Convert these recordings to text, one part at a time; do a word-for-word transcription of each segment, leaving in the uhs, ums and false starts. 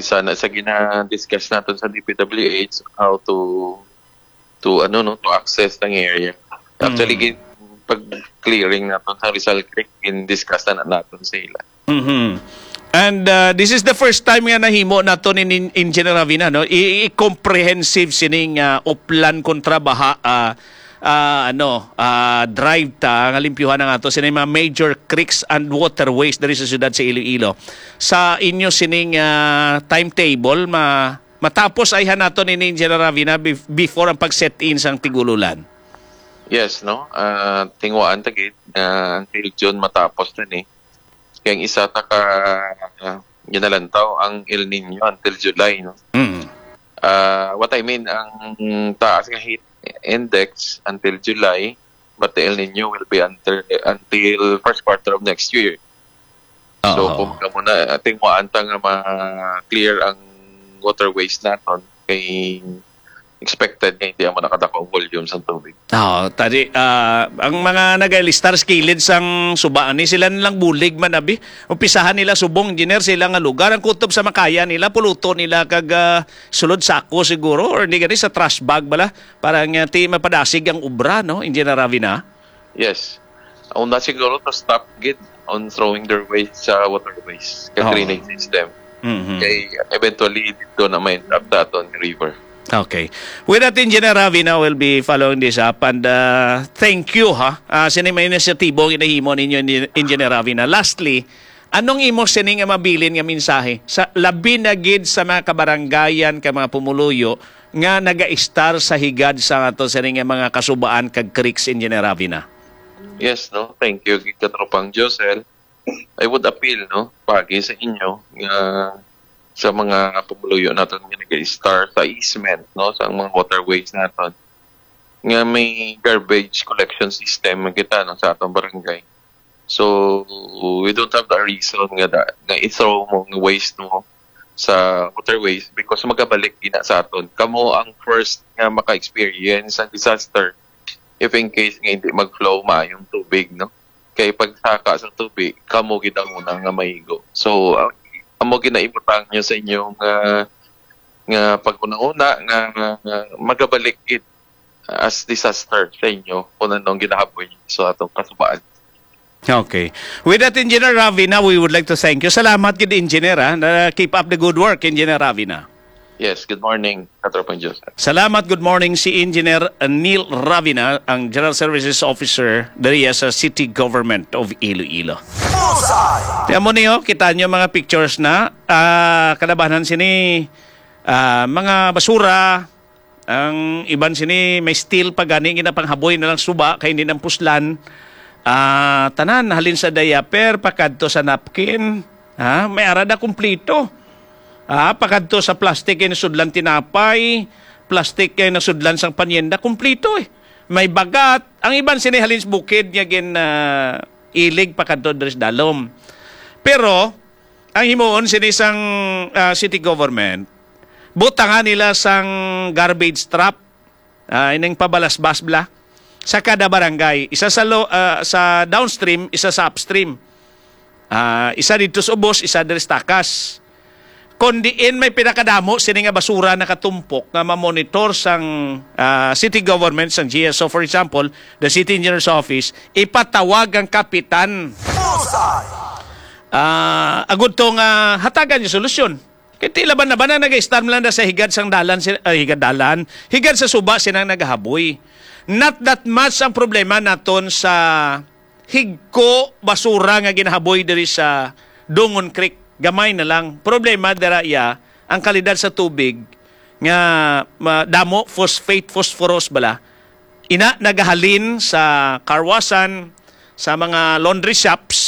sana sa gina-discuss naton sa D P W H, how to to ano, no, to access ng area. Actually, Mm. gin-, pag clearing naton sa Rizal Creek, gin-discuss na naton sa ila. Mhm. And, uh, this is the first time nga nahimo nato ni Nin-, Engineer Ravina, no? I, i-comprehensive sining, uh, Oplan kontra baha, uh, uh, ano, uh, drive ta nga limpyuhan ang ato sining mga major creeks and waterways diri sa siyudad sa Iloilo. Sa inyo sining, uh, timetable, ma-, matapos ayhan nato ni Engineer Ravina bef-, before ang pag-set in sang tig-ululan? Yes, no? Ah, tinguhaan ta gid nga until June matapos na ni. Kaya ang isa ta ka, ah, ginalantaw ang El Nino until July, no? Mm. Ah, what I mean, ang taas nga heat index until July, but the El Nino will be until, until first quarter of next year. So, Oo. Kung kamo na, tinguhaan ta nga ma-clear ang waterways naton, kay expected nga hindi amo nakadako ang volume sang tubig. Oo, tadi, ah, ang mga nagalistar sa kilid sang suba, ni sila nilang bulig man, abi. Umpisahan nila subong, engineer, sila nga lugar. Ang kutob sa makaya nila, puluto nila kag, ah, sulod sako siguro, or hindi gani sa trash bag bala. Para nga ti mapadasig ang obra, no, Engineer Ravina? Yes. Una siguro to stop gid on throwing their waste sa waterways, ka Oo. drainage system. Mhm. Kay eventually, dito na may end up sa aton river. Okay. With that, Engineer Ravina will be following this up. And, uh, thank you, ha. Uh, sini may inisyatibo ang ginahimo ninyo, Engi-, Engineer Ravina. Lastly, anong imo sini nga mabilin nga mensahe sa labi na gid sa mga kabarangayan, ka mga pumuluyo nga nagaistar sa higad sa ato sini nga mga kasubaan kag creeks, Engineer Ravina? Yes, no. Thank you, Katropang Josel. I would appeal, no, pagi sa inyo nga sa mga pumuluyo naton nga nag-star sa easement, no, sa mga waterways naton, nga may garbage collection system man kita, no, sa atong barangay. So, we don't have a reason nga da, nga i-throw mo nga waste mo sa waterways because magabalik gina sa aton. Kamo ang first nga maka-experience sa disaster if in case nga hindi mag-flow maayong tubig, no? Kay pagsaka sa tubig, kamo gid ang una nga maigo. So, ang, amo ginaibutang nyo sa inyong, ah, nga pag-una-una nga, nga, nga magabalik it as disaster sa inyo kung anong ginahaboy nyo sa atong kasubaan. Okay. With that, Engineer Ravina, we would like to thank you. Salamat gid, Engineer, ha. Na, keep up the good work, Engineer Ravina. Yes, good morning, Katropang Joseph. Salamat, good morning, si Engineer Neil Ravina, ang General Services Officer diri sa City Government of Iloilo. Bullseye! Tiyan mo niyo, kita niyo mga pictures na, ah, kalabanan sini, ah, mga basura, ang iban sini may steel pa gani, ginapanghaboy na lang suba kay hindi nang puslan. Ah, tanan, halin sa diaper pakadto sa napkin, ha, may ara na kumplito. Ah, pakadto sa plastic kay nasudlan tinapay, plastic kay nasudlan sang paninda, kumplito eh. May bagat, ang iban sini halin sa bukid nga gin, ah, ilig pakadto diri sa dalom. Pero ang himuon sini sang, ah, city government, butangan nila sang garbage trap, ah, ining pabalasbas bala, sa kada barangay. Isa sa lo-, ah, sa downstream, isa sa upstream. Ah, isa didto sa ubos, isa diri sa takas. Kon diin may pinakadamo sini nga basura nakatumpok nga ma-monitor sang, ah, city government, sang G S O, for example, the city engineer's office, ipatawag ang kapitan. Bullseye! Ah, agud to nga hatagan niya solusyon. Kay tila ba na ba na nag-istar lang na sa higad sang dalan, si-, ay, higad dalan, higad sa suba sinang nagahaboy. Not that much ang problema naton sa higko basura nga ginahaboy diri sa Dungon Creek. Gamay na lang. Problema dira iya ang kalidad sa tubig nga ma-, damo phosphate, phosphorus bala. Ina nagahalin sa karwasan, sa mga laundry shops.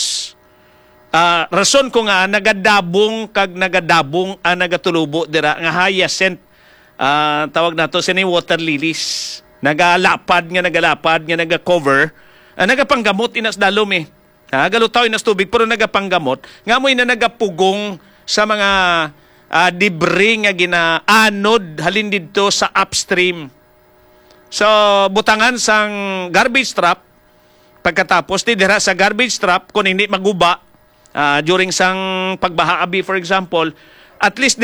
Ah, rason ko nga nagadabong kag nagadabong ang nagatulubo dira nga hyacinth. Ah, tawag nato sini water lilies. Nagalapad nga, nagalapad nga, naga-cover. Ah, nagapanggamot ina sa dalom eh. Ha, galutaw ina sa tubig pero nagapanggamot. Nga mo ina nagapugong sa mga, ah, debris nga ginaanod halin didto sa upstream. So, butangan sang garbage trap, pagkatapos di dira sa garbage trap, kung hindi maguba, ah, during sang pagbaha abi, for example, at least dira